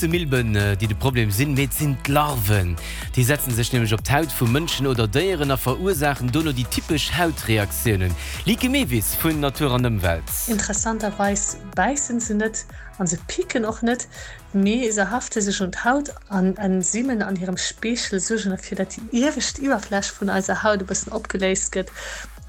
Milben, déi de Problem sinn, mee et sinn d'Larven. Déi setzen sech nämlech op d'Haut vu Mënschen oder Déieren a verursaachen dono déi typesch Hautreaktiounen. Lieke Mewis vun Natur an Ëmwelt. Interessanterweis bäissen se net an se picken och net, mee se hafte sech un d'Haut an Enzymen an hirem Speechel suergen derfir, dat déi iewescht Iwwerfläch vun eiser Haut e bëssen opgeléist gëtt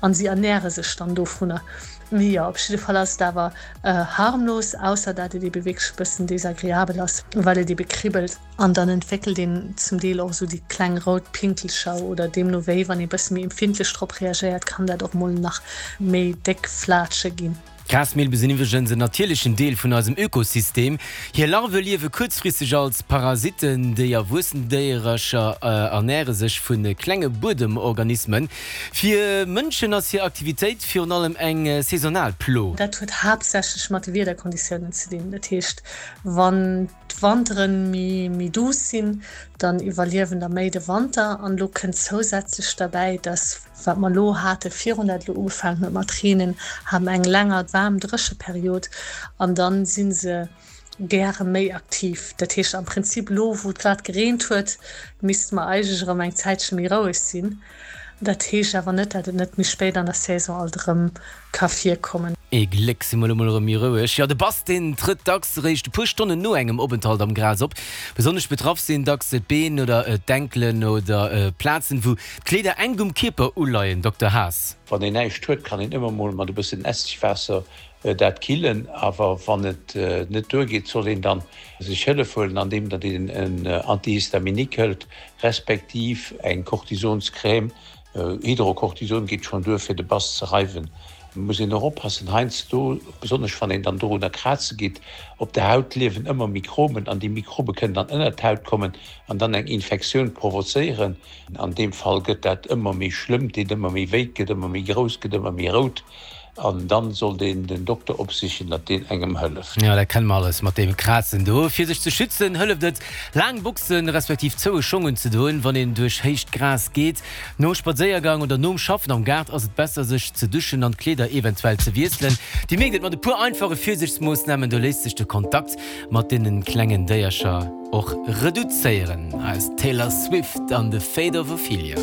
an si ernäre sech dann dovunner. Mee jo, op jidde Fall ass et awer harmlos, ausser dat et ebe wierklech e bëssen desagreabel ass, well et ebe kribbelt. An dann entwéckelt een zum Deel och esou déi kleng rout Pinkelcher oder deemno wéi, wann ee bësse méi empfindlech drop reagéiert, kann dat och mol nach méi déck Flatsche ginn. D'Grasmilbe sinn iwwregens en natierlechen Deel vun eisem Ökosystem. Hir Larve liewe kuerzfristeg als Parasitten. Déi erwuessen Déierercher ernäre sech vu klenge Buedemorganismen. Fir Mënschen ass hir Aktivitéit virun allem eng saisonal Plo. Dat huet haaptsächlech mat de Wiederkonditiounen ze dinn. Dat heescht, wann d'Wantere méi duuss sinn, dann iwwerliewen der méi de Wanter. An elo kënnt zousätzlech derbäi, dass, wat mer elo hate virun dat elo ugefaangen huet mat reenen, haben eng länger waarm Drécheperiod an dann si se gäre méi aktiv. Dat heescht am Prinzip elo wou et grad gereent huet, misste mer eigentlech erëm eng Zäitche méi roueg sinn. Dat heescht awer net, dat et net méi spéit an der Saison alt erëm ka virkommen. Ee Gléck si mer elo mol erëm méi roueg. Jo, de Bass, deen trëtt dacks eréischt e puer Stonnen no engem Openthalt am Gras op. Besonnesch betraff sinn dacks d'Been oder d'Enkelen oder Plazen, wou d'Kleeder enk um Kierper uleien. Dokter Haas. Wann een näischt huet, kann een ëmmer mol mat e bëssen Essigwaasser dat killen, awer wann et net duergeet, soll een dann sech Hëllef huelen, andeem datt een en Antihistaminique hëlt, respektiv eng Cortisonscrème. Hydrocortison geet schonn duer fir de Bass ze reiwen. Muss een och oppassen, heiansdo, besonnesch wann een dann dorunner kraze geet, op der Haut liewen ëmmer Mikroben an déi Mikrobe kënnen dann ënnert d'Haut kommen an dann eng Infektioun provozéieren. An deem Fall gëtt dat ëmmer méi schlëmm, deet ëmmer méi wéi, gëtt ëmmer méi grouss, gëtt ëmmer méi rout. An dann sollt een den Dokter opsichen, datt deen engem hëlleft. Jo, dat kenne mer alles mat deem Krazen do. Fir sech ze schützen, hëlleft et, laang Boxen respektiv zoue Schong unzedoen, wann een duerch héicht Gras geet. Nom Spadséiergang oder nom Schaffen am Gaart ass et besser, sech ze duschen an d'Kleeder eventuell ze wiesselen. Dir mierkt et, mat e puer einfache Virsiichtsmoossnamen, do léisst sech de Kontakt mat deene klengen Déiercher och reduzéieren. Hei ass d'Taylor Swift an The Fate of Ophelia.